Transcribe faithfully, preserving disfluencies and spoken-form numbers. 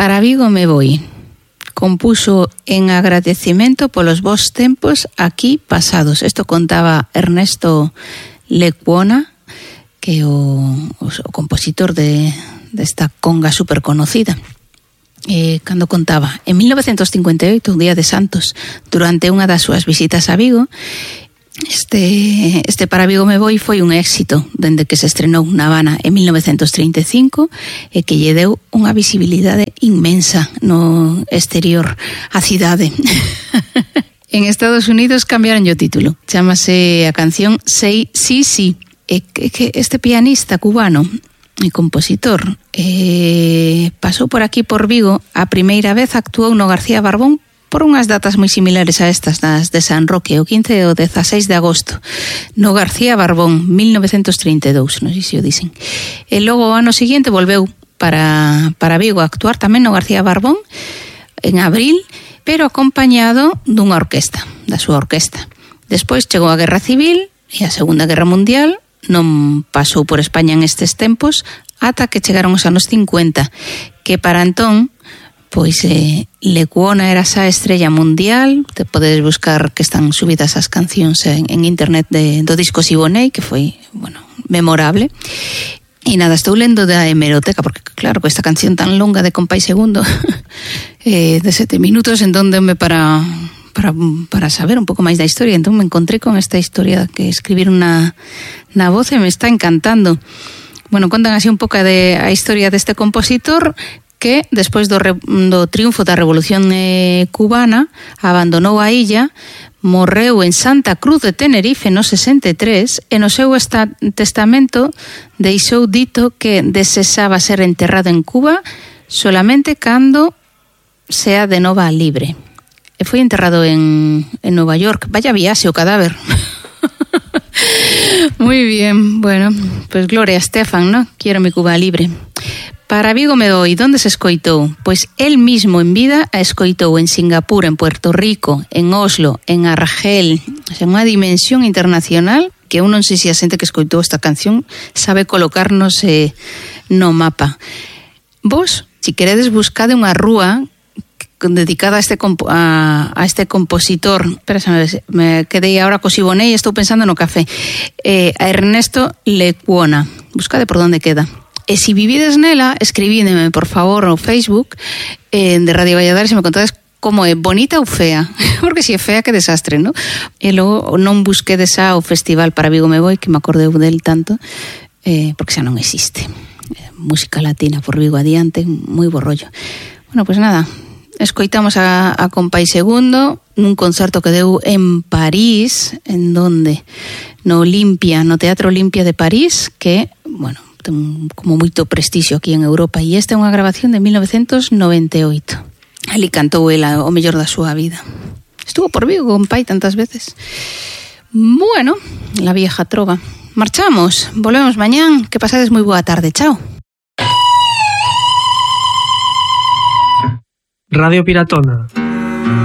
Para Vigo me voy. Compuso en agradecimiento polos vos tempos aquí pasados. Esto contaba Ernesto Lecuona, que é o, o, o compositor de desta conga super conocida. Eh, cando contaba, en mil novecientos cincuenta y oito, un día de Santos, durante unha das súas visitas a Vigo, Este, este Para Vigo me voy foi un éxito dende que se estrenou na Habana en mil novecientos trinta e cinco e que lle deu unha visibilidade inmensa no exterior a cidade. En Estados Unidos cambiaron o título, chamase a canción Say Sí Sí. E que este pianista cubano e compositor eh, pasou por aquí por Vigo a primeira vez, actuou no García Barbón por unhas datas moi similares a estas das de San Roque, o quince e o dezaseis de agosto, no García Barbón, mil novecientos trinta e dous, non sei se o dicen. E logo o ano seguinte volveu para, para Vigo a actuar tamén no García Barbón, en abril, pero acompañado dunha orquesta, da súa orquesta. Despois chegou a Guerra Civil e a Segunda Guerra Mundial, non pasou por España en estes tempos, ata que chegaron os anos cincuenta, que para entón, pois eh, Lecuona era esa estrella mundial. Te podes buscar que están subidas as cancións en, en internet de, do disco Siboney, que foi, bueno, memorable. E nada, estou lendo da hemeroteca, porque claro, esta canción tan longa de Compay Segundo, eh, de sete minutos, en donde me para, para, para saber un pouco máis da historia. Entón me encontré con esta historia que escribiron na, na voz e me está encantando. Bueno, contan así un pouco de a historia deste compositor, que despois do, re, do triunfo da Revolución eh, Cubana abandonou a illa, morreu en Santa Cruz de Tenerife no sesenta e tres e no seu esta, testamento deixou dito que desexaba ser enterrado en Cuba solamente cando sea de nova libre. E foi enterrado en, en Nova York. Vaya viaxe o cadáver. Muy bien, bueno, pues Gloria Estefan, ¿no? Quiero mi Cuba libre. Para Vigo me voy, donde se escoitou? Pois el mismo en vida a escoitou en Singapur, en Puerto Rico, en Oslo, en Argel, o sea, unha dimensión internacional que eu non sei se a xente que escoitou esta canción sabe colocarnos eh, no mapa. Vos, si queredes, buscade unha rúa dedicada a este compo- a, a este compositor. Espera, me quedei ahora co Siboney e estou pensando no café. Eh, a Ernesto Lecuona. Buscade por donde queda. E se vivides nela, escribídeme, por favor, no Facebook eh, de Radio Valladares, se me contades como é bonita ou fea, porque se é fea, que desastre, ¿no? E logo non busquedes xa o Festival Para Vigo me voy, que me acordeu del tanto, eh, porque xa non existe. Eh, música latina por Vigo adiante, moi bo rollo. Bueno, pues nada, escoitamos a, a Compay Segundo nun concerto que deu en París, en donde? No Olimpia, no Teatro Olimpia de París, que, bueno, ten como moito prestixio aquí en Europa, e esta é unha grabación de mil novecientos noventa e oito. Ali cantou ela o mellor da súa vida. Estuvo por Vigo con pai tantas veces. Bueno, la vieja trova. Marchamos, volvemos mañán, que pasades moi boa tarde, chao. Radio Piratona.